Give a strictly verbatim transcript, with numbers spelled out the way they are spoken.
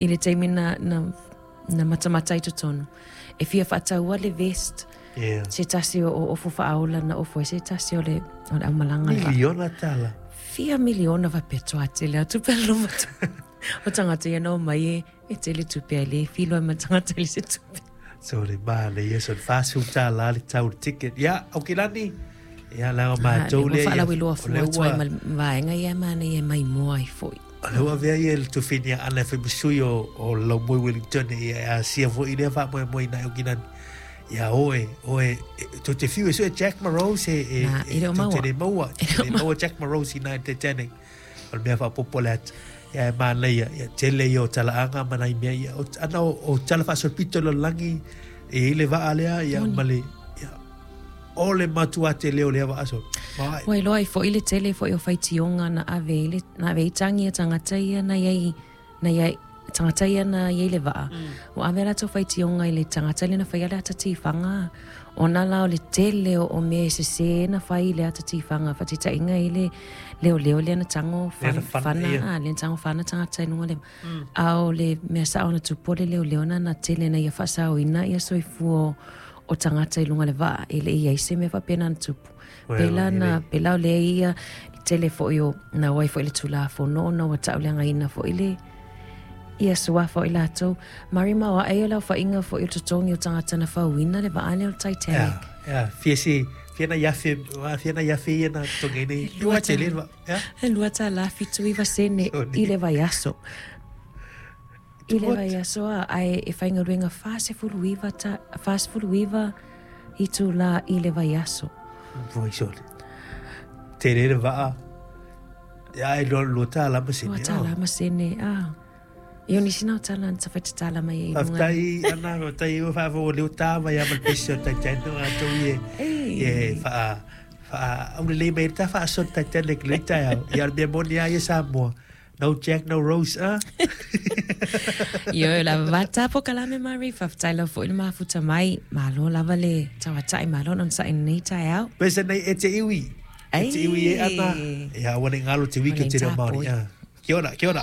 I le taimi na, na, na matamata i totonu. E fia faataua le vest. Yeah. Se tasi o, o ofu faaola na ofu ai se tasi o le, o le aumalaga le vaa. Miliona tala. Fia miliona faapea toatele atu pe alo mata. O tagata ia na omai e, e tele tupe ai le filo ai ma tagata i le se tupe. So le manaia ia so le fasefulu tālā le tau o le ticket. Ia, Aukilani, ia leaga Ah, matou lea lea ua ia, faalauiloa o fua lea atu ai ua ma le vaega ia e manaia e maimoa ai foi. O lea ua avea ia le tufini ana e fai ma sui o, o Laumoi Wellington ia e asia foi lea faamoemoe i nai Aukilani. Ia oe, oe, e, tou te fiu e sue Jack Morose e, e, Na, e, e le o tou te maua. le maua, E le te o le maua Jack Morose i nai Titanic. O le mea faaopoopo le ata. Ia e manaia, ia tele ia o talaaga ma nai mea ia. O, ana o, o tala faasolopito i le lalolagi, e i ai le vaa lea, ia ma le, ia, o le matua tele o lea vaa solo. Mai. Ua iloa ai foi le tele foi o faitioga na ave i le na ave ai tagi a tagata ia na iai na iai tagata ia na iai le vaa. Ua ave a latou faitioga i le tagata lea na faia le ata tifaga ona la o le tele o, o mea e sesē na fai i le ata tifaga faataitaiga i le leoleo lea na tago Lea na fana, fana, fana ia. a lea na tago fana tagata i luga le a o le mea sao na tupu o le leoleo na na tele na ia faasaoina ia soifua o o tagata i luga le vaa e le i ai se mea faapena na tupu. Well, Pela e na le pela o lea ia tele foi o na o ai foi le Tulafono ona ua tauleagaina foi le ia suafa o i latou. Marima o ae o le aofaiga foi o totogi o tagata na fauina le vaa lea o le Titanic. Ia, ia, fia se, fia na iafe, fia na iafe ia na totogi nei. E lua Lua tele ta- le vaa, ia. E lua tālā fitu iva sene Soni. i le vaiaso. I le What? vaiaso a, ae e faigaluega fasefulu iva ta, fasefulu iva itulā i le vaiaso. Voi sole. Tele le vaa. Ia, e lua, lua tālā ma sene. Lua tālā ma sene, a. E o nisi na o tala na tawhaitatala mai e i lunga. Faafetai, Ana, faafetai ua faafofoga lea ua tā mai lava ma le pesi o le Titanic o latou ia e faa faa aulelei mai ai le ta faasoa le Titanic i lenei taeao. Ia o le mea moni lava ia Samoa. No Jack, no Rose, a? Io lava tapo kalame Mari, faafetai lava foi le mafuta mai. Malo lava le tauata'i malo ona sa'i lenei taeao. Pesa nei e te iwi. E te iwi e Ana. Ai. Ia, ua nei galo te wiki o te reo Māori. Ua nei Kia ora, kia ora.